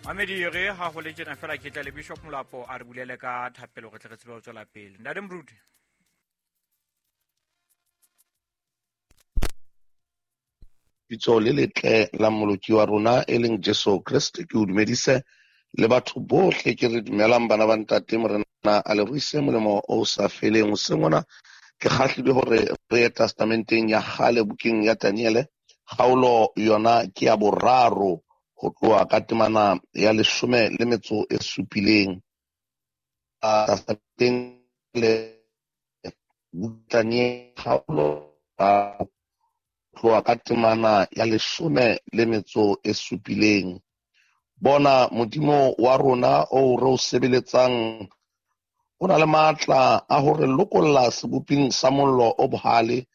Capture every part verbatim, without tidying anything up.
Mamedi re ha ho le tjena fela ke tla le Bishop Molapo a re bulele ka thapelo re tle re tsebe ho tswela pele. Ntate Moruti. Bitso le letle la Mmoloki wa rona e leng Jesu Kreste, ke o dumedise le batho bohle ke re dumelang bana ba ntate Morena a le ruise molemo o sa feleng. Hoseng hona ke kgahlilwe hore re ye testamenteng ya kgale bukeng ya Daniele, kgaolo yona ke ya boraro ho tloha ka temana ya leshome le metso e supileng. Testamenteng le Daniele kgaolo tloha ka temana ya leshome le metso e supileng. Bona Modimo wa rona o re o sebeletsang o na le matla a hore lokolla seboping sa mollo o bohale,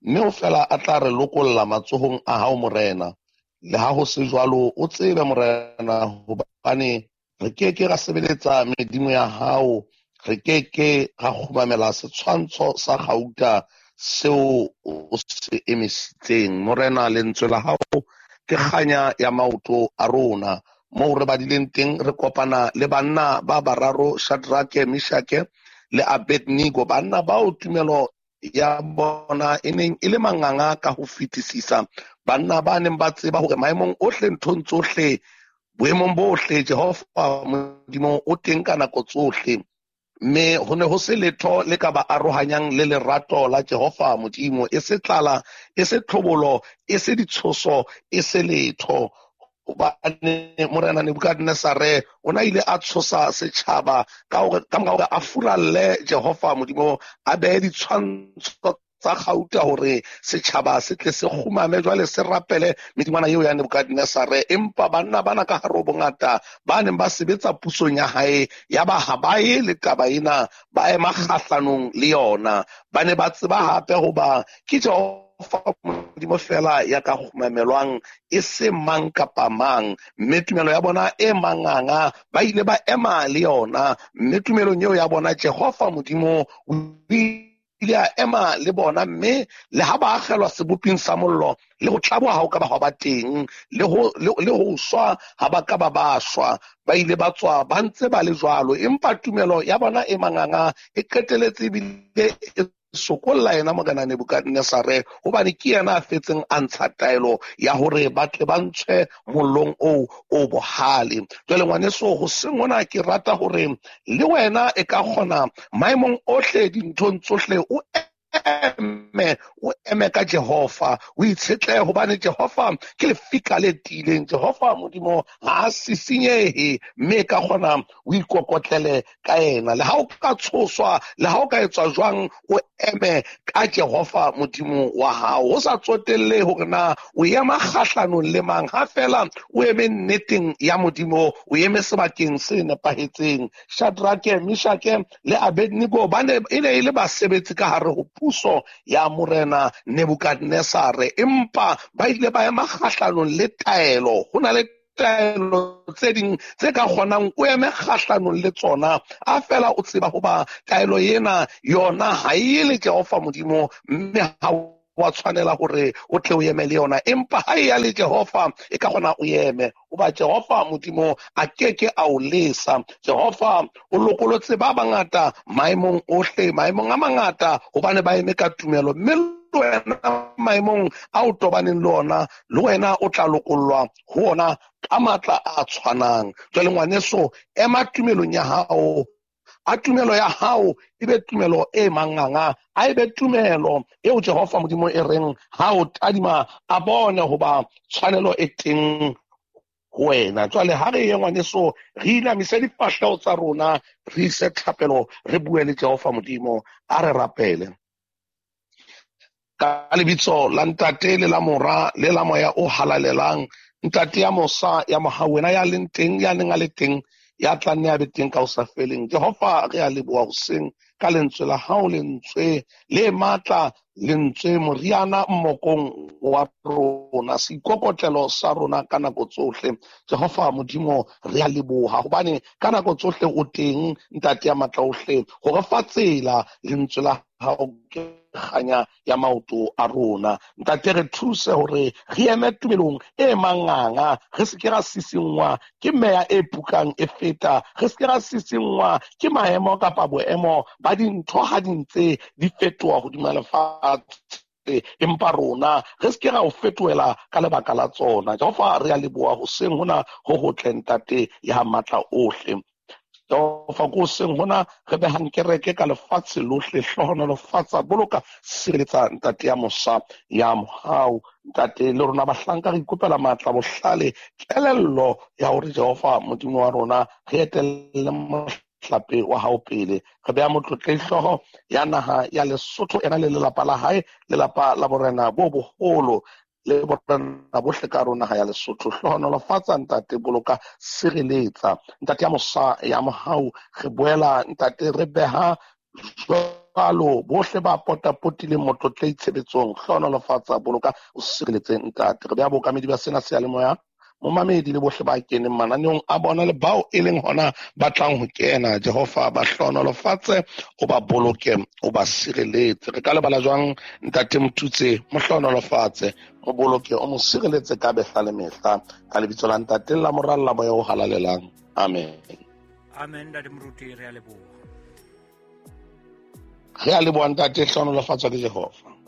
mme o fela a tla re lokolla matsohong a hao Morena. Le ha ho se jwalo, o tsebe Morena hobane re ke ke ra sebeletsa medimo ya hao, re ke ke ra kgumamela setshwantsho sa kgauta seo o se emisitseng. Morena, lentswe la hao ke kganya ya maoto a rona. Moo re badileng teng re kopana le banna ba bararo, Shadrake, Meshake le Abednego, banna bao tumelo ya bona e neng e le manganga ka ho fetisisa, banna ba neng ba tseba hore maemong ohle, nthong tsohle, boemong bohle, Jehova Modimo o teng ka nako tsohle. Mme ho ne ho se letho le ka ba arohanyang le lerato la Jehova Modimo, e se tlala, e se tlhobolo, e se ditshoso, e se letho. Hobane Morena Nebukadnesare o na ile a tshosa setjhaba ka hore ka mora hore a furalle Jehova Modimo, a behe ditshwantsho tsa kgauta hore setjhaba se tle se kgumame jwale se rapele medingwana eo ya Nebukadnesare. Empa banna bana ka hare ho bongata ba neng ba sebetsa pusong ya hae, ya ba ha ba ye le taba ena, ba ema kgahlanong le yona. Ba ne ba tseba hape hoba ke Jehova Modimo fela ya ka kgumamelwang, e se mang kapa mang. Mme tumelo ya bona e manganga ba ile ba ema le yona, mme tumelong eo ya bona Jehova Modimo o ile a ema le bona. Mme le ha ba akgelwa seboping sa mollo, le ho tlaboha ha o ka ba hwa ba teng, le ho le ho shwa ha ba ka ba ba shwa, ba ile ba tswa ba ntse ba le jwalo. Empa tumelo ya bona e manganga e qeteletse ebile e sokolla yena Morena Nebukadnesare, hobane ke yena a fetseng a ntsha taelo ya hore ba tle ba ntshwe mollong oo o bohale. Jwale ngwaneso, hoseng hona ke rata hore le wena e ka kgona maemong ohle, dinthong tsohle, o eme, o eme ka Jehova, o itshetlehe, hobane Jehova ke lefika le tiileng. Jehova Modimo ha a sisinyehe, mme ka kgona o ikokotlele ka yena. Le ha o ka tshoswa, le ha o ka etswa jwang, o eme ka Jehova Modimo wa hao, ho sa tsotelle hore na o ema kgahlanong le mang. Ha fela o eme nneteng ya Modimo, o eme sebakeng se nepahetseng. Shadrake, Meshake le Abednego ba ne e ne e le basebetsi ka hare ho puso ya Morena Nebukadnesare, empa ba ile ba ema kgahlanong le taelo. Ho na le taelo tse ding tse ka kgonang o eme kgahlanong le tsona, a fela o tseba hoba taelo ena yona ha e le Jehova Modimo, mme ha wa tshwanela hore o tle o eme le yona. Empa ha e ya le Jehova, e ka kgona o eme, hoba Jehova Modimo a keke a o lesa. Jehova o lokolotse ba bangata maemong ohle, maemong a mangata, hobane ba eme ka tumelo. Mme le wena maemong a o tobaneng le ona, le wena o tla lokollwa ho ona ka matla a tshwanang. Jwale ngwaneso, ema tumelong ya hao. A tumelo ya hao e be tumelo e manganga, a e be tumelo eo Jehova Modimo e reng ha o tadima a bone hoba tshwanelo e teng ho wena. Jwale ha re ye ngwaneso, re inamise difahleho tsa rona, re ise thapelo, re bue le Jehova Modimo. A re rapele. Ka lebitso la Ntate le la Mora le la Moya o Halalelang, Ntate ya mosa ya mohau, wena ya leng teng, ya neng a le teng, ya tla nne a be teng ka ho sa feleng. Jehova, re a leboha hoseng ka lentswe la hao, lentswe le matla, lentswe moriana mmokong wa rona, seikokotlelo sa rona ka nako tsohle. Jehova Modimo, re a leboha hobane ka nako tsohle o teng, Ntate ya matla ohle, ho re fa tsela. Lentswe la hao ke kganya ya maoto a rona. Ntate, re thuse hore re eme tumelong e manganga, re se ke ra sisingwa ke meya e pukang e feta, re se ke ra sisingwa ke maemo kapa boemo ba dintho ha di ntse di fetoha hodima lefatshe, empa rona re se ke ra o fetohela ka lebaka la tsona. Jehova, re a leboha hoseng hona ho hotle, Ntate ya matla ohle. Jehova, ko hoseng hona re behang kereke ka lefatshe lohle, hlohonolofatsa, boloka, sireletsa, Ntate ya mosa ya mohau. Ntate, le rona bahlanka re ikopela matla, bohlale, kelello ya hore Jehova Modimo wa rona re etelle mohlape wa hao pele. Re beha motlotlehi hlooho ya naha ya Lesotho, ena le lelapa la hae, lelapa la borena bo boholo le borena bohle ka rona naha ya Lesotho. Hlohonolofatsa, Ntate, boloka, sireletsa, Ntate ya mosa ya mohau. Re boela, Ntate, re beha jwalo bohle ba potapotileng motlotlehi tshebetsong. Hlohonolofatsa, boloka, o sireletse, Ntate. Re beha bookamedi ba sena seyalemoya, momamedi le bohle ba keneng mananeong a bona le bao e leng hona ba tlang ho kena. Jehova, ba hlohonolofatse, o ba boloke, o ba sireletse. Re ka lebala jwang Ntate Motutse? Mo hlohonolofatse, mo boloke, o mo sireletse ka behla le mehla, ka lebitso la Ntate la Mora la Moya o Halalelang. Amen. Amen, Ntate Moruti, re a leboha. Re a leboha, Ntate, hlohonolofatswa ke Jehova.